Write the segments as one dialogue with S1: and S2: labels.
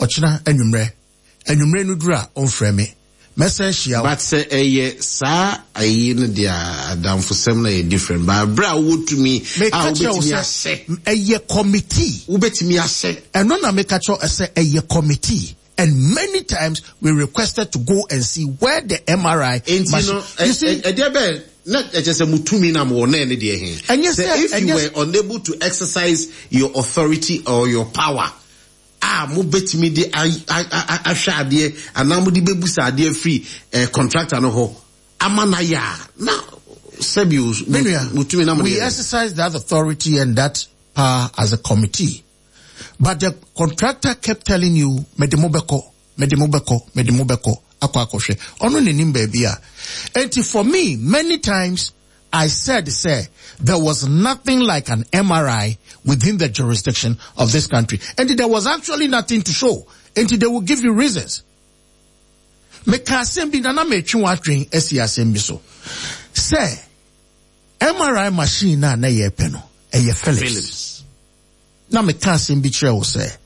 S1: Ɔkyena anwummerɛ. Anwummerɛ no duru a, ɔmfrɛ me. Mɛsan ahyia wo.
S2: But sɛ ɛyɛ saa ayi no deɛ a, adamfosɛm no yɛ different. But berɛ a wowɔ tumi a
S1: Meka kyerɛ wo
S2: wobɛtumi
S1: sɛ,
S2: ahyɛ.
S1: ɛyɛ committee.
S2: Wobɛtumi ahyɛ.
S1: Ɛno na meka kyerɛ wo sɛ ɛyɛ committee. And many times we requested to go and see where the MRI
S2: Enti
S1: machine.
S2: no,
S1: You see,
S2: ɛdeɛ bɛn na ɛkyɛ sɛ mo tumi na mowɔ na ɛne deɛ he?
S1: Ɛnyɛ
S2: Sɛ
S1: sɛ-
S2: if you
S1: ɛnyɛ
S2: were unable to exercise your authority or your power a mobɛtumi de ahwɛ adeɛ anaa mode bɛbusa adeɛ firi contractor no hɔ ama no ayɛ a, na sɛbi o,
S1: Me nua,
S2: mo tumi na mode
S1: we
S2: yɛ dɛn?
S1: exercise that authority and that power as a committee. But the contractor kept telling you, mede mo bɛkɔ, mede mo bɛkɔ, mede mo bɛkɔ, akɔ akɔhwɛ. Ɔno n'anim baabi a. Enti for me, many times I said, sir, there was nothing like an MRI within the jurisdiction of this country. And there was actually nothing to show. And they will give you reasons. Meka asɛm bi na na metwe w'adwen asi asɛm bi so. Sɛ MRI machine na na yɛpɛ no, ɛyɛ Philips.
S2: Philips.
S1: Na meka asɛm bi kyerɛ wo sɛ,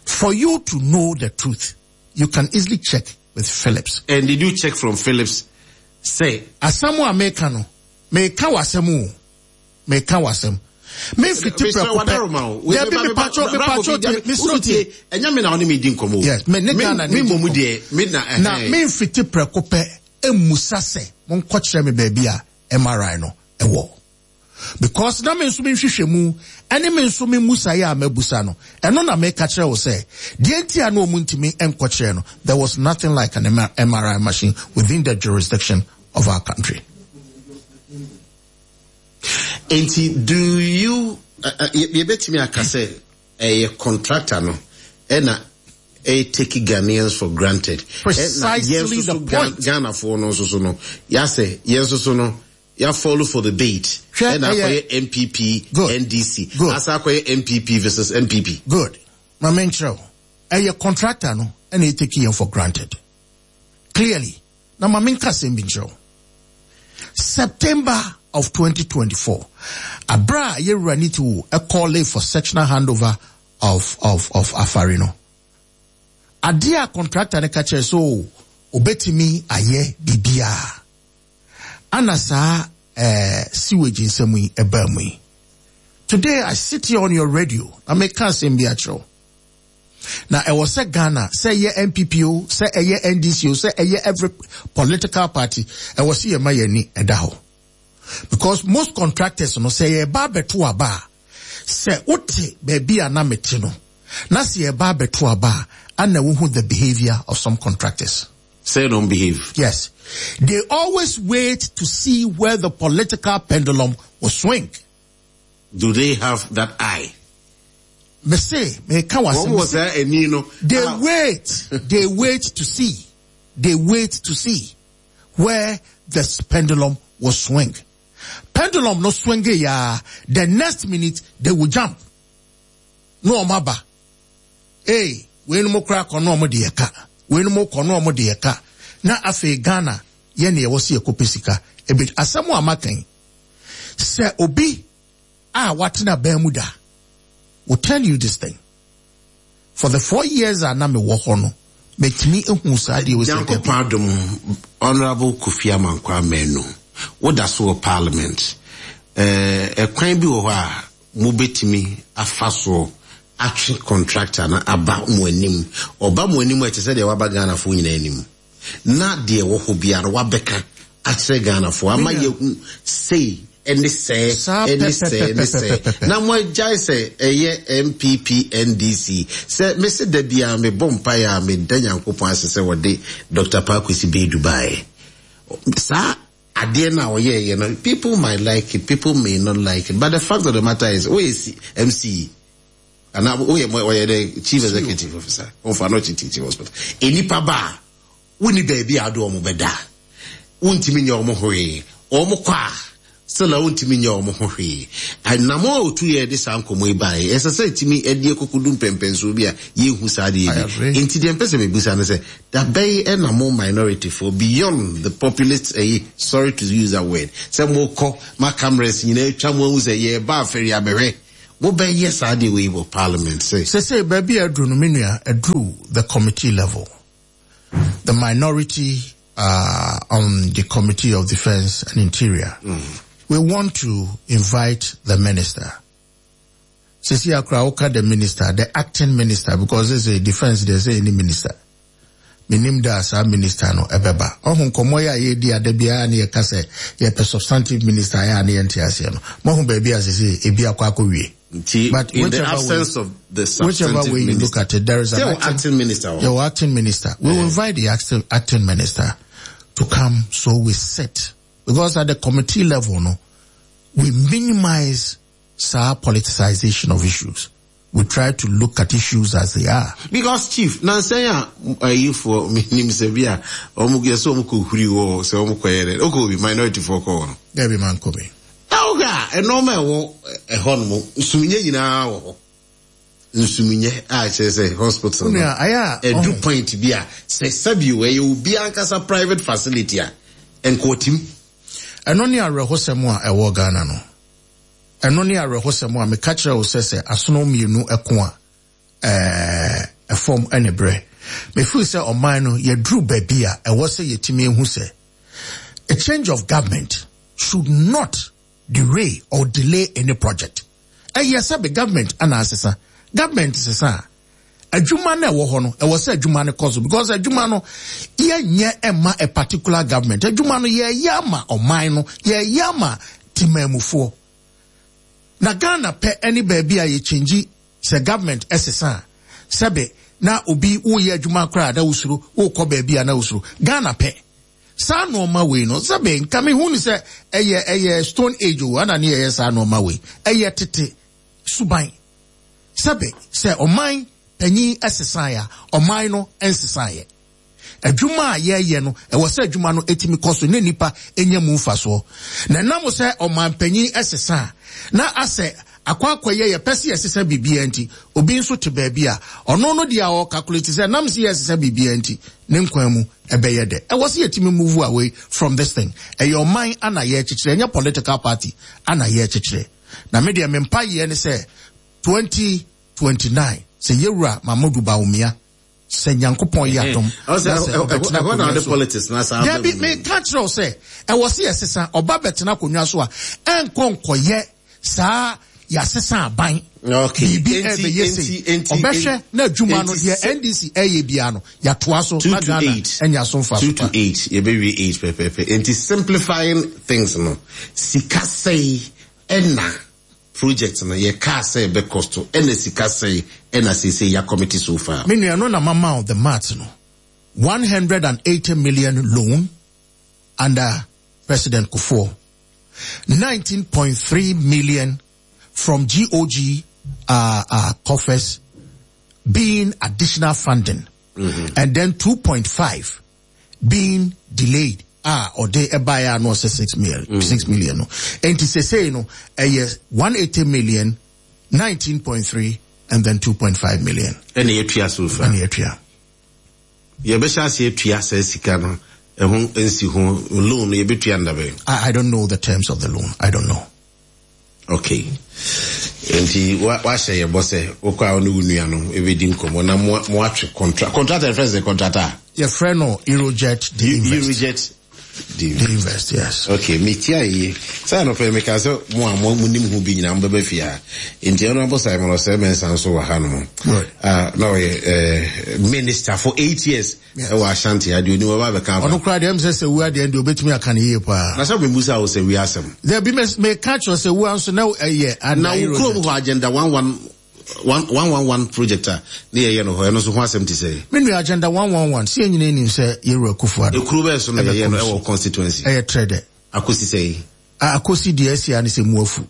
S1: for you to know the truth, you can easily check with Philips.
S2: And did you check from Philips? Say.
S1: Asɛm a meka no, meka w'asɛm o. Meka w'asɛm. Memfiti prɛko pɛ. Dabi, mepatwɔ, mepatwɔ tie, mesrɛ tie.
S2: Ɛnyɛ me na ɔne me di nkɔmmɔ o.
S1: Yes, me ne Ghana
S2: ne
S1: di
S2: mmom
S1: nkɔmmɔ.
S2: deɛ, me na,
S1: Na
S2: ɛhɛn.
S1: memfiti prɛko pɛ mmusa sɛ monkɔkyerɛ me baabi a MRI no ɛwɔ. Because na me nso menhwehwɛ mu, ɛne me nso me mmusaeɛ a mabusa no, ɛno na meka kyerɛ wo sɛ, deɛ nti a na ɔmu ntumi nkɔkyerɛ no, there was nothing like an MRI machine within the jurisdiction of our country.
S2: Enti do you, yɛbɛtumi aka sɛ ɛyɛ contractor no ɛna ɛyɛ take Ghanaians for granted? Ɛna yɛn
S1: Precisely
S2: nso
S1: the
S2: so
S1: point.
S2: Ghanafoɔ no nso so no, yɛasɛ yɛn nso so no, yɛ follow for the bait.
S1: Hwɛ,
S2: Ɛna
S1: ɛyɛ
S2: akɔyɛ NPP,
S1: Good.
S2: NDC.
S1: Good.
S2: Asa akɔyɛ NPP versus NPP.
S1: Good. Ma menkyerɛ wo. Ɛyɛ contractor no ɛna ɛtake yɛn for granted. Clearly. Na ma menka asɛm bi nkyerɛ wo. September of 2024, abra a yɛwura ne ti wo ɛkɔɔle for sectional handover of Afari no. Adeɛ a contractor no ka kyerɛ so obetumi ayɛ biribiara. Ana saa sewage nsɛm yi ɛbaa mu yi. Today I sit here on your radio na meka asɛm bi akyerɛ wo. Na ɛwɔ sɛ Ghana, sɛ ɛyɛ NPP o, sɛ ɛyɛ NDC o, sɛ ɛyɛ every political party, ɛwɔ sɛ yɛma yɛn ani ɛda hɔ. Because most contractors no, sɛ yɛba abɛto aba a, sɛ wote baabi a na mete no, na sɛ yɛba abɛto aba a, ana wohu the behavior of some contractors.
S2: Say don't behave.
S1: Yes. They always wait to see where the political pendulum will swing.
S2: Do they have that eye?
S1: Me say, me ka wa
S2: Wɔn wɔ saa ani no.
S1: They wait. They wait to see. They wait to see where the pendulum will swing. Pendulum no swing ya. The next minute they will jump. No omaba. Hey, we no mo kra kono omo de ka. We no mo kono omo de ka. Na afe Ghana ye na ye wo se ekope sika. Ebet asɛm a makan. Sɛ obi a watena ban mu da will tell you this thing. For the 4 years a na me wɔ hɔ no, metumi ehu saa deɛ osi
S2: Nyankopɔn
S1: dɛm.
S2: adom, Honorable Kofi Amankwa Manu, woda so wɔ parliament. Ɛkwan bi wɔ hɔ a mobɛtumi afa soɔ atwe contractor na aba mo anim. Ɔba mo anim a ɛte sɛ deɛ waba Ghanafoɔ nyinaa anim. Na deɛ wɔ hɔ biara wabɛka akyerɛ Ghanafoɔ ama yɛhu sei ɛne sɛɛ,
S1: Saa
S2: ɛne sɛɛ, ɛne sɛɛ.
S1: pɛpɛpɛpɛpɛpɛ.
S2: Na mo agyae sɛ ɛyɛ NPP, NDC. Sɛ mese da biara mebɔ mpaeɛ a meda Nyankopɔn ase sɛ wɔde Dr. Paa Kwesi Baidoo baeɛ. Saa adeɛ no a ɔyɛeɛ no, people might like it, people may not like it, but the fact of the matter is, woyɛ MC, anaa woyɛ mo, ɔyɛ the chief executive officer, ɔmfa no ɔkye teaching hospital. Enipa ba a, wonni baabi a ade wɔn bɛda, wontumi nyɛ wɔn hwee, wɔn kɔ a, still a wontumi nyɛ wɔn ho hwee. Anamɔ a otu yɛ de saa nkɔmɔ yi baeɛ, ɛsɛ sɛ etumi ɛde ekokodu mpɛmpɛnsoɔ bi a yɛnhu saa adeɛ bi.
S1: I agree.
S2: Nti deɛ mpɛ sɛ mebusa ne sɛ, da bɛyi ɛna mo minority for beyond the populist, sorry to use that word, sɛ mo kɔ ma cameras nyinaa atwa mo ahu sɛ yɛreba afɛri abɛhwɛ. Mobɛyɛ saa deɛ wei wɔ parliament sɛ.
S1: Sesei baabi a aduru no me nua, aduru the committee level. The minority uh, on the Committee of Defense and Interior. Mm. We want to invite the minister. Sisi akora woka the minister, the acting minister, because they say defense, they say any minister. Menim da a saa minister no ɛbɛba. Ɔho nkɔmmɔ yi a yɛredi a da biara ne yɛka sɛ yɛpɛ substantive minister a ɛyɛ a ne yɛnte aseɛ no, moahu baabi a sesei ebi akɔ akɔwie.
S2: Nti
S1: But
S2: in the
S1: whichever way,
S2: absence of the
S1: whichever
S2: substantive
S1: way you look
S2: minister,
S1: at it, there is an
S2: sɛ wɔ
S1: acting,
S2: acting minister wɔ hɔ.
S1: yɛwɔ acting minister. We will invite the acting, acting minister to come so we sit. Because at the committee level no, we minimize saa politicization of issues. We try to look at issues as they are.
S2: Because chief, nansa yi a ayifoɔ menim sɛ bi a wɔn yɛ sɛ wɔn kɔ huri wɔ sɛ wɔn kɔ yɛ dɛ okɔ bi minority foɔ kɔ hɔ no.
S1: Dɛbi man kɔ bi.
S2: Na wohwɛ a nneɛma ɛwɔ ɛhɔ nom nsuminyɛ nyinaa wɔ hɔ nsuminyɛ a kyerɛ sɛ hospital no ɛdu point bi a sɛ sɛbi o ɛyɛ obi ankasa private facility a nkɔɔtim.
S1: Ɛno ne awerɛhosɛm a ɛwɔ Ghana no. Ɛno ne awerɛhosɛm a meka kyerɛ wo sɛ sɛ asono mmienu ko a, ɛɛ, ɛfam ne berɛ. Me feel sɛ ɔman no yɛduru baabi a ɛwɔ sɛ yɛtumi hu sɛ a change of government should not derail or delay any project. Ɛyɛ sɛ be government ana asesa. Government sesa a, adwuma no ɛwɔ hɔ no, ɛwɔ sɛ adwuma no kɔ so because adwuma no yɛnyɛ ɛma a particular government. Adwuma no yɛyɛ ama ɔman no, yɛyɛ ama temanmufoɔ. Na Ghana pɛ ɛne baabi a yɛkyɛngyi sɛ government ɛsesa a, sɛbe na obi woyɛ adwuma koraa na wosuro, wokɔ baabi a na wosuro. Ghana pɛ. Saa nnoɔma wei no, sɛbe nka mehu no sɛ ɛyɛ ɛyɛ stone age o, ɛna ne yɛyɛ saa nnoɔma wei. Ɛyɛ tete suban. Sɛbe, sɛ ɔman panyin sesaeɛ a, ɔman no nsesaeɛ. Adwuma a yɛreyɛ no, ɛwɔ sɛ adwuma no tumi kɔ so na nnipa nya mu mfasoɔ. Na ɛnam sɛ ɔman panyin sesa a, na asɛ akɔ akɔyɛ yɛpɛ sɛ yɛsesa biribiara nti, obi nso te baabi a, ɔno no deɛ a ɔɔkakuleti sɛ ɛnam sɛ yɛresesa biribiara nti, ne nkwa mu ɛbɛyɛ dɛ. Ɛwɔ sɛ yɛtumi move away from this thing. Ɛyɛ ɔman ana yɛrekyekyerɛ, ɛnyɛ political party ana yɛrekyekyerɛ. Na me deɛ me mpaeɛ ne sɛ 2029 sɛ Yɛwura Mahmodu Bawumia sɛ Nyankopɔn yɛ adom na sɛ ɔbɛtena akonnwa so. Dabi meka kyerɛ wo sɛ ɛwɔ sɛ yɛsesa ɔba bɛtena akonnwa so a ɛnkɔ nkɔyɛ saa yɛasesa aban biribi ɛbɛyɛ sei ɔbɛhwɛ na adwuma no deɛ NDC ɛyɛ biara no yɛatoa so na Ghana anya so mfaso pa.
S2: 2 to 8 yɛbɛwie 8 pɛpɛpɛ nti simplifying things no sika sɛe ɛna project no yɛ kaa sɛ ɛbɛ cost ɛna sika sɛe ɛna seesei ya commit so far.
S1: Me nua no na mama wo the maths no 180 million loan under President Kufuor 19.3 million from GOG uh, uh, coffers being additional funding mm -hmm. and then 2.5 being delayed a ɔde ɛbaeɛ a na ɔsɛ 6 million mm. 6 million no nti sesei no ɛyɛ 180 million 19.3 and then 2.5 million
S2: ɛna yɛtua so fa
S1: ɛna yɛtua
S2: yɛbɛhyɛ ase atua saa sika no ɛho nsi ho loan no yɛbɛtua ndabɛn
S1: I, I don't know the terms of the loan I don't know
S2: Okay. Nti wahyɛ yɛ bɔ sɛ wokɔ a wo ne wo nua no ɛbɛdi nkɔmmɔ na moatwe contract. Contractor yɛfrɛ sɛ contractor?
S1: Yɛfrɛ no Eurojet de Invest.
S2: Eurojet
S1: de Invest. De Invest, yes.
S2: Okay, metia yie. Sɛ anɔpɛ meka sɛ mo a monim ho bi nyinaa mobɛba fie ha. Nti Honorable Simon Osei Mensah nso wɔ ha nom.
S1: Right.
S2: Na ɔyɛ minister for 8 years. Ɛwɔ Ashanti ha deɛ onim ɔba abɛka afa.
S1: Ɔno koraa deɛ ɛm sɛ sɛ wua deɛ deɛ obetumi aka no yie paa.
S2: Na sɛ mebusa wo sɛ wia asɛm.
S1: Dabi me meka kyerɛ sɛ wua nso na ɛyɛ
S2: ana. Na wo kurom hɔ agenda one one one one one one project a ne yɛyɛ no hɔ ɛno nso ho asɛm te sɛ.
S1: Me nua agenda 111 sɛ yɛn nyinaa nim sɛ yɛwura Akufo Addo.
S2: Ekuro bɛɛ so na yɛyɛ no ɛwɔ constituency.
S1: Ɛyɛ trɛ dɛ.
S2: Akosi sɛ.
S1: Akosi deɛ ɛsi a ne sɛ mu afu.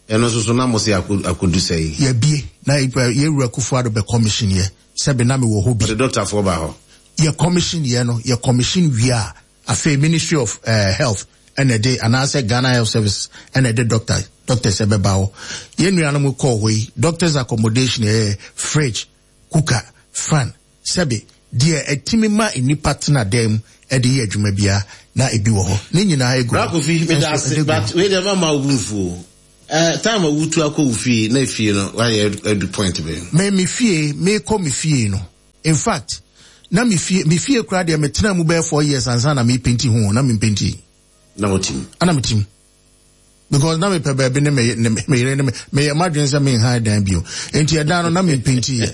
S2: Ɛno nso so na mo se akodu sɛn?
S1: Yɛabie na yɛn wura Akufo Addo bɛ commission yɛ, sɛbe na me wɔ hɔ bi.
S2: Ɔde doctor foɔ baa hɔ?
S1: Yɛ commission yɛ no, yɛ commission wie a, afei Ministry of eh, Health ɛna ɛde, anaasɛ Ghana Health Service ɛna ɛde doctor, doctors ɛbɛba hɔ. Yɛn nuanom kɔɔ hɔ yi, doctors accommodation ɛyɛ fridge, cooker, fan, sɛbe deɛ ɛtumi ma nnipa tena dan mu ɛde yɛ adwuma biara na ebi wɔ hɔ. Ne nyinaa egu
S2: hɔ. Bra Kofi, meda ase, but wei deɛ mama wo bo mfu o. Eh, time a wotu akɔ wo fie na fie no wayɛ adu point bɛn?
S1: Me me fie, mekɔ me fie no, in fact, na me fie, me fie koraa deɛ metena mu bɛyɛ 4 years ansa na mepenti ho, na mempenti.
S2: Na wotim?
S1: Ana metim. Because na mepɛ baabi ne me ne me yere ne me meyɛ m'adwene sɛ menhan dan bio. Nti ɛdan no na mempenti yɛ.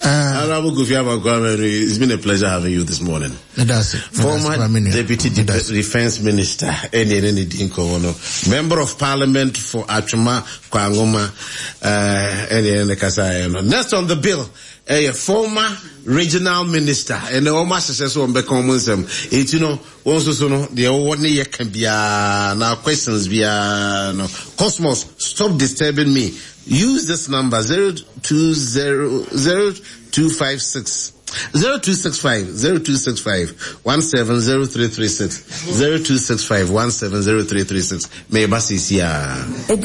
S2: Honorable Kofi Amankwa, it's been a pleasure having you this morning. Former Deputy Defense Minister, ɛne ɛne ne di nkɔmmɔ no, Member of Parliament for Atwima Kwanwoma, ɛne ɛne ne kasa yɛ no. Next on the bill, ɛyɛ former Regional Minister, ɛnɛ wɔn ahyehyɛ so wɔn bɛka wɔn nsɛm. Eti no, wɔn nso so no, deɛ wɔwɔ ne yɛ ka biara, na questions biara no. Cosmos, stop disturbing me. Use this number 020 0256 0265 0265 170336 0265 170336. Meba sisi a.